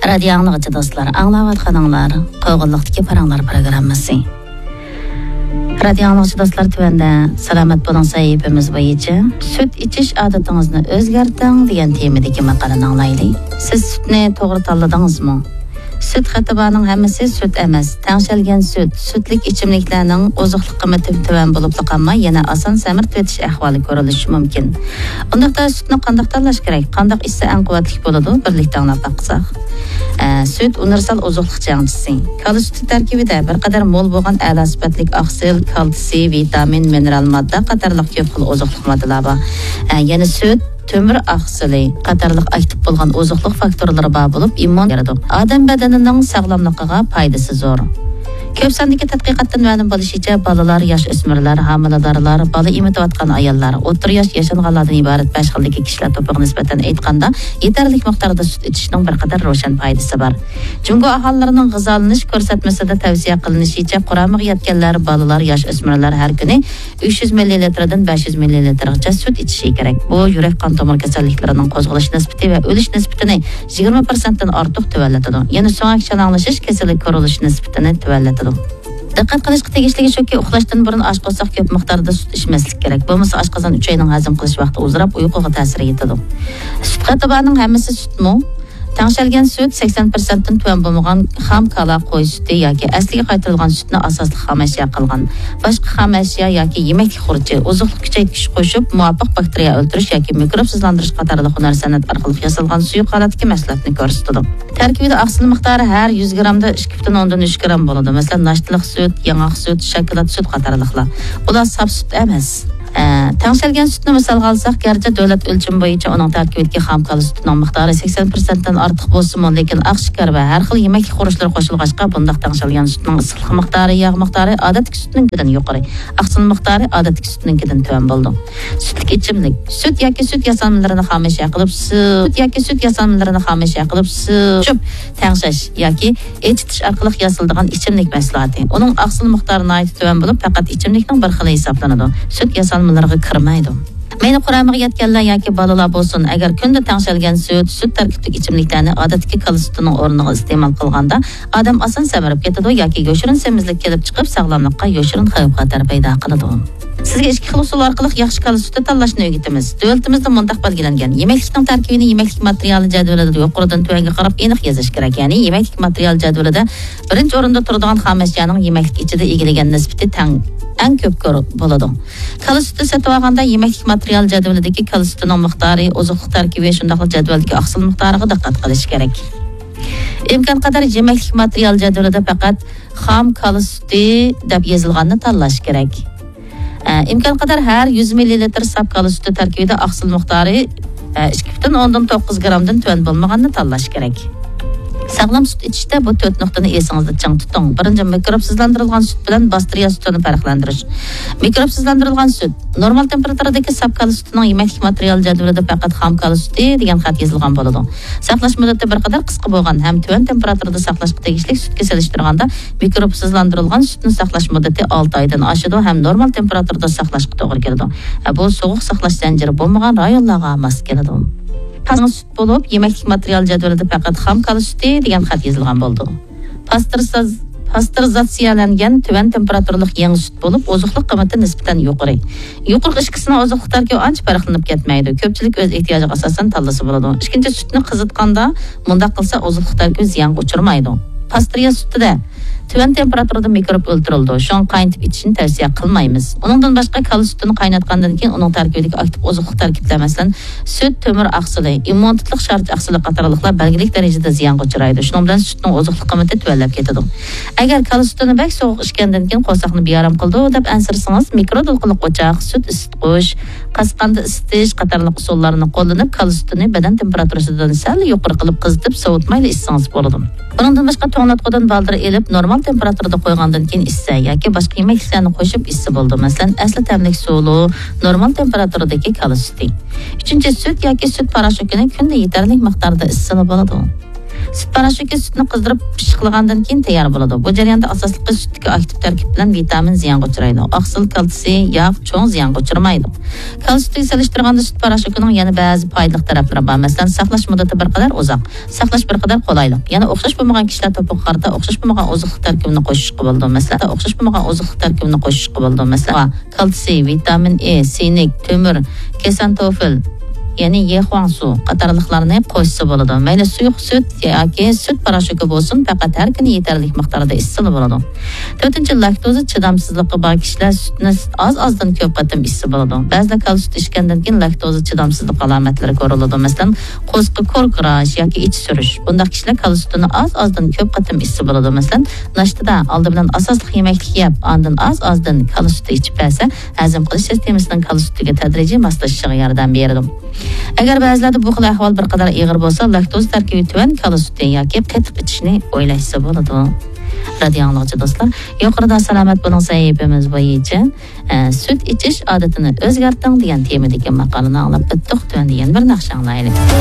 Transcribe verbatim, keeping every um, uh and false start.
رادىيو ئاڭلىغۇچى دوستلار، ئاڭلاۋاتقىنىڭلار قوغۇنلۇقتىكى پاراڭلار پروگراممىسى. رادىيو ئاڭلىغۇچى دوستلار، تۆۋەندە سالامەت بولۇڭ سەھىپىمىز بويىچە سۈت ئىچىش ئادىتىڭىزنى ئۆزگەرتىڭ دېگەن تېمىدىكى ماقالىنى ئاڭلايلى. سىز سۈتنى توغرا تاللىدىڭىزمۇ؟ سۈت خېتى بارنىڭ ھەممىسى سۈت ئەمەس. تەڭشەلگەن سۈت، سۈتلۈك ئىچىملىكلەرنىڭ ئوزۇقلۇق قىممىتى تۆۋەن بولۇپلا قالماي، يەنە ئاسان سەمرىتىۋېتىش ئەھۋالى كۆرۈلۈشى مۇمكىن. ئۇنداقتا سۈتنى قانداق تاللاش كېرەك؟ قانداق ئىچسە ئەڭ قۇۋۋەتلىك بولىدۇ؟ بىرلىكتە ئاڭلاپ باقساق. ئە، سۈت ئۇنىۋېرسال ئوزۇقلۇق جەڭچىسى. كالا سۈتى تەركىبىدە بىر قەدەر مول بولغان ئەلا سۈپەتلىك ئاقسىل، كالتسىي، ۋىتامىن، مىنېرال ماددا قاتارلىق كۆپ خىل ئوزۇقلۇق ماددىلار بار. ئە، يەنە سۈت، تۆمۈر ئاقسىلى قاتارلىق ئاكتىپ بولغان ئوزۇقلۇق فاكتورلىرى بار بولۇپ، ئىممۇن بېرىدۇ. ئادەم بەدىنىنىڭ ساغلاملىقىغا پايدىسى زور. كۆپ ساندىكى تەتقىقاتتىن مەلۇم بولۇشىچە، بالىلار، ياش ئۆسمۈرلەر، ھامىلىدارلار، بالا ئېمىتىۋاتقان ئاياللار، ئوتتۇرا ياش ياشانغانلاردىن ئىبارەت بەش خىلدىكى كىشىلەر توپىغا نىسبەتەن ئېيتقاندا، يېتەرلىك مىقداردا سۈت ئىچىشنىڭ بىر قەدەر روشەن پايدىسى بار. جۇڭگو ئاھالىلىرىنىڭ غىزالىنىش كۆرسەتمىسىدە تەۋسىيە قىلىنىشىچە، قۇرامىغا يەتكەنلەر، بالىلار، ياش ئۆسمۈرلەر ھەر كۈنى ئۈچ يۈز مىللىلىتىردىن بەش يۈز مىللىلىتىرغىچە سۈت ئىچىشى كېرەك. بۇ يۈرەك قان تومۇر كېسەللىكلىرىنىڭ قوزغىلىش نىسبىتى ۋە ئۆلۈش نىسبىتىنى يىگىرمە پىرسەنتتىن ئارتۇق تۆۋەنلىتىدۇ. يەنە سۆڭەك شالاڭلىشىش كېسىلى كۆرۈلۈش نىسبىتىنى تۆۋەنلىتىدۇ. دىققەت قىلىشقا تېگىشلىكى شۇكى، ئۇخلاشتىن بۇرۇن ئاش قورساق كۆپ مىقداردا سۈت ئىچمەسلىك كېرەك. بولمىسا ئاشقازان، ئۈچەينىڭ ھەزىم قىلىش ۋاقتى ئۇزىراپ، ئۇيقۇغا تەسىر يېتىدۇ. سۈت قېتى بارنىڭ ھەممىسى سۈتمۇ؟ تەڭشەلگەن سۈت سەكسەن پىرسەنتتىن تۆۋەن بولمىغان خام كالا قوي سۈتى ياكى ئەسلىگە قايتۇرۇلغان سۈتنى ئاساسلىق خام ئەشيا قىلغان، باشقا خام ئەشيا ياكى يېمەكلىك خۇرۇچى، ئوزۇقلۇق كۈچەيتكۈچ قوشۇپ، مۇۋاپىق باكتېرىيە ئۆلتۈرۈش ياكى مىكروبسىزلاندۇرۇش قاتارلىق ھۈنەر سەنئەت ئارقىلىق ياسالغان سۇيۇق ھالەتتىكى مەھسۇلاتنى كۆرسىتىدۇ. تەركىبىدە ئاقسىل مىقدارى ھەر يۈز گىرامدا ئىككى پۈتۈن ئوندىن ئۈچ گىرام بولىدۇ. مەسىلەن، ناشتىلىق سۈت، ياڭاق سۈت، شاكىلات سۈت قاتارلىقلار. ئۇلار ساپ سۈت ئەمەس. ئە، تەڭشەلگەن سۈتنى مىسالغا ئالساق، گەرچە دۆلەت ئۆلچىمى بويىچە ئۇنىڭ تەركىبىدىكى خام كالا سۈتىنىڭ مىقدارى سەكسەن پىرسەنتتىن ئارتۇق بولسىمۇ، لېكىن ئاق شېكەر ۋە ھەر خىل يېمەكلىك خۇرۇچلىرى قوشۇلغاچقا، بۇنداق تەڭشەلگەن سۈتنىڭ ئىسسىقلىق مىقدارى، ياغ مىقدارى ئادەتتىكى سۈتنىڭكىدىن يۇقىرى، ئاقسىل مىقدارى ئادەتتىكى سۈتنىڭكىدىن تۆۋەن بولىدۇ. سۈتلۈك ئىچىملىك. سۈت ياكى سۈت ياسالمىلىرىنى خامەشيا قىلىپ سۈ-، سۈت ياكى سۈت ياسالمىلىرىنى خامەشيا قىلىپ سۈ-، چۈپ تەڭشەش ياكى ئېچىتىش ئارقىلىق ياسىلىدىغان ئىچىملىك مەھسۇلاتى. ئۇنىڭ ئاقسىل مىقدارى ناھايىتى تۆۋەن بولۇپ، پەقەت ئىچىملىكنىڭ بىر خىلى ھېسابلىنىدۇ. سۈت ياسالمىلىرىغا كىرمەيدۇ. مەيلى قۇرامىغا يەتكەنلەر ياكى بالىلار بولسۇن، ئەگەر كۈندە تەڭشەلگەن سۈت، سۈت تەركىبلىك ئىچىملىكلەرنى ئادەتتىكى كالا سۈتىنىڭ ئورنىغا ئىستېمال قىلغاندا، ئادەم ئاسان سەمرىپ كېتىدۇ ياكى يوشۇرۇن سېمىزلىك كېلىپ چىقىپ، ساغلاملىققا يوشۇرۇن خەۋپ-خەتەر پەيدا قىلىدۇ. سىزگە ئىككى خىل ئۇسۇل ئارقىلىق ياخشى كالا سۈتى تاللاشنى ئۆگىتىمىز. دۆلىتىمىزدە مۇنداق بەلگىلەنگەن: يېمەكلىكنىڭ تەركىبىنى يېمەكلىك ماتېرىيالى جەدۋىلىدە يۇقىرىدىن تۆۋەنگە قاراپ ئېنىق يېزىش كېرەك. يەنى يېمەكلىك ماتېرىيالى جەدۋىلىدە بىرىنچى ئورۇندا تۇرىدىغان خام ئەشيانىڭ يېمەكلىك ئىچىدە ئىگىلىگەن نىسبىتى تەڭ، ئەڭ كۆپ كۆر-، بولىدۇ. كالا سۈتى سېتىۋالغاندا يېمەكلىك ماتېرىيالى جەدۋىلىدىكى كالا سۈتىنىڭ مىقدارى، ئوزۇقلۇق تەركىبى، شۇنداقلا جەدۋەلدىكى ئاقسىل مىقدارىغا دىققەت قىلىش كېرەك. ئىمكانقەدەر يېمەكلىك ماتېرىيال جەدۋىلىدە پەقەت خام كالا سۈتى دەپ يېزىلغاننى تاللاش كېرەك. ئە، ئىمكانقەدەر ھەر يۈز مىللىلىتىر ساپ كالا سۈتى تەركىبىدە ئاقسىل مىقدارى، ئە، ئىككى پۈتۈن ئوندىن توققۇز گىرامدىن تۆۋەن بولمىغاننى تاللاش كېرەك. ساغلام سۈت ئىچىشتە بۇ تۆت نۇقتىنى ئېسىڭىزدە چىڭ تۇتۇڭ. بىرىنچى، مىكروبسىزلاندۇرۇلغان سۈت بىلەن باستېرىيە سۈتىنى پەرقلەندۈرۈش. مىكروبسىزلاندۇرۇلغان سۈت. نورمال تېمپېراتۇرىدىكى ساپ كالا سۈتىنىڭ يېمەكلىك ماتېرىيالى جەدۋىلىدە پەقەت خام كالا سۈتى دېگەن خەت يېزىلغان بولىدۇ. ساقلاش مۇددىتى بىر قەدەر قىسقا بولغان ھەم تۆۋەن تېمپېراتۇرىدا ساقلاشقا تېگىشلىك سۈتكە سېلىشتۇرغاندا، مىكروبسىزلاندۇرۇلغان سۈتنى ساقلاش مۇددىتى ئالتە ئايدىن ئاشىدۇ ھەم نورمال تېمپېراتۇرىدا ساقلاشقا توغرا كېلىدۇ. ھە، بۇ سوغۇق ساقلاش زەنجىرى بولمىغان رايونلارغا ماس كېلىدۇ. سۈت بولۇپ، يېمەكلىك ماتېرىيال جەدۋىلىدە پەقەت خام كالا سۈتى دېگەن خەت يېزىلغان بولىدۇ. پاستېرىزاتسىيەلەنگەن تۆۋەن تېمپېراتۇرىلىق يېڭى سۈت بولۇپ، ئوزۇقلۇق قىممىتى نىسبەتەن يۇقىرى. يۇقىرىقى ئىككىسىنىڭ ئوزۇقلۇق تەركىبى ئانچە پەرقلىنىپ كەتمەيدۇ. كۆپچىلىك ئۆز ئېھتىياجىغا ئاساسەن تاللىسا بولىدۇ. ئىككىنچى، سۈتنى قىزىتقاندا مۇنداق قىلسا ئوزۇقلۇق تەركىبى زىيانغا ئۇچرىمايدۇ. پاستېرىيە سۈتىدە تۆۋەن تېمپېراتۇرىدا مىكروب ئۆلتۈرۈلىدۇ. شۇڭا قاينىتىپ ئىچىشنى تەۋسىيە قىلمايمىز. ئۇنىڭدىن باشقا، كالا سۈتىنى قايناتقاندىن كېيىن ئۇنىڭ تەركىبىدىكى ئاكتىپ ئوزۇقلۇق تەركىبلەر، مەسىلەن، سۈت، تۆمۈر ئاقسىلى، ئىممۇنىتېتلىق شارچە ئاقسىلى قاتارلىقلار بەلگىلىك دەرىجىدە زىيانغا ئۇچرايدۇ. شۇنىڭ بىلەن سۈتنىڭ ئوزۇقلۇق قىممىتى تۆۋەنلەپ كېتىدۇ. ئەگەر كالا سۈتىنى بەك سوغۇق ئىچكەندىن كېيىن قورساقنى بىئارام قىلىدۇ دەپ ئەنسىرىسىڭىز، مىكرو دولقۇنلۇق ئوچاق، سۈت ئىسسىتقۇچ، قاسقاندا ئىسسىتىش قاتارلىق ئۇسۇللارنى قوللىنىپ، كالا سۈتىنى بەدەن تېمپېراتۇرىسىدىن سەل يۇقىرى قىلىپ قىزىتىپ، سوۋۇتمايلا ئىچسىڭىز بولىدۇ. بۇنىڭدىن باشقا، توڭلاتقۇدىن بالدۇر ئېلىپ، نورمال تېمپېراتۇرىدا قويغاندىن كېيىن ئىچسە ياكى باشقا يېمەكلىكلەرنى قوشۇپ ئىچسە بولىدۇ. مەسىلەن، ئەسلى تەملىك سۇلۇ، نورمال تېمپېراتۇرىدىكى كالا سۈتى. ئۈچىنچى، سۈت ياكى سۈت پاراشوكىنى كۈندە يېتەرلىك مىقداردا ئىچسىلا بولىدۇ. سۈت پاراشوكى سۈتنى قىزدۇرۇپ پىششىقلىغاندىن كېيىن تەييار بولىدۇ. بۇ جەرياندا ئاساسلىقى سۈتتىكى ئاكتىپ تەركىب بىلەن ۋىتامىن زىيانغا ئۇچرايدۇ. ئاقسىل كالتسىي ياغ چوڭ زىيانغا ئۇچرىمايدۇ. كالا سۈتىگە سېلىشتۇرغاندا سۈت پاراشوكىنىڭ يەنە بەزى پايدىلىق تەرەپلىرى بار. مەسىلەن، ساقلاش مۇددىتى بىر قەدەر ئۇزاق، ساقلاش بىر قەدەر قولايلىق. يەنە ئوخشاش بولمىغان كىشىلەر توپىغا قارىتا ئوخشاش بولمىغان ئوزۇقلۇق تەركىبىنى قوشۇشقا بولىدۇ. مەسىلەن، ئوخشاش بولمىغان ئوزۇقلۇق تەركىبىنى قوشۇشقا بولىدۇ. مەسىلەن، كالتسىي، ۋىتامىن ئې، سىنك، تۆمۈر، كېسانتوفىل، يەنى يېخۇاڭسۇ قاتارلىقلارنى قوشسا بولىدۇ. مەيلى سۇيۇق سۈت ياكى سۈت پاراشوكى بولسۇن، پەقەت ھەر كۈنى يېتەرلىك مىقداردا ئىچسىلا بولىدۇ. تۆتىنچى، لاكتوزا چىدامسىزلىقى بار كىشىلەر سۈتنى ئاز-ئازدىن كۆپ قېتىم ئىچسە بولىدۇ. بەزىلەر كالا سۈت ئىچكەندىن كېيىن لاكتوزا چىدامسىزلىق ئالامەتلىرى كۆرۈلىدۇ. مەسىلەن، قورسىقى كوركىراش ياكى ئىچى سۈرۈش. بۇنداق كىشىلەر كالا سۈتىنى ئاز-ئازدىن كۆپ قېتىم ئىچسە بولىدۇ. مەسىلەن، ناشتىدا ئالدى بىلەن ئاساسلىق يېمەكلىك يەپ، ئاندىن ئاز-ئازدىن كالا سۈتى ئىچىپ بەرسە، ھەزىم قىلىش سىستېمىسىنىڭ كالا سۈتىگە تەدرىجىي ماسلىشىشىغا ياردەم بېرىدۇ. ئەگەر بەزىلەردە بۇ خىل ئەھۋال بىر قەدەر ئېغىر بولسا، لاكتوز تەركىبى تۆۋەن كالا سۈتى ياكى قېتىق ئىچىشنى ئويلاشسا بولىدۇ. رادىيو ئاڭلىغۇچى دوستلار، يۇقىرىدا سالامەت بولۇڭ سەھىپىمىز بويىچە، ئە، سۈت ئىچىش ئادىتىنى ئۆزگەرتىڭ دېگەن تېمىدىكى ماقالىنى ئاڭلاپ ئۆتتۇق. تۆۋەندە يەنە بىر ناخشا ئاڭلايلى.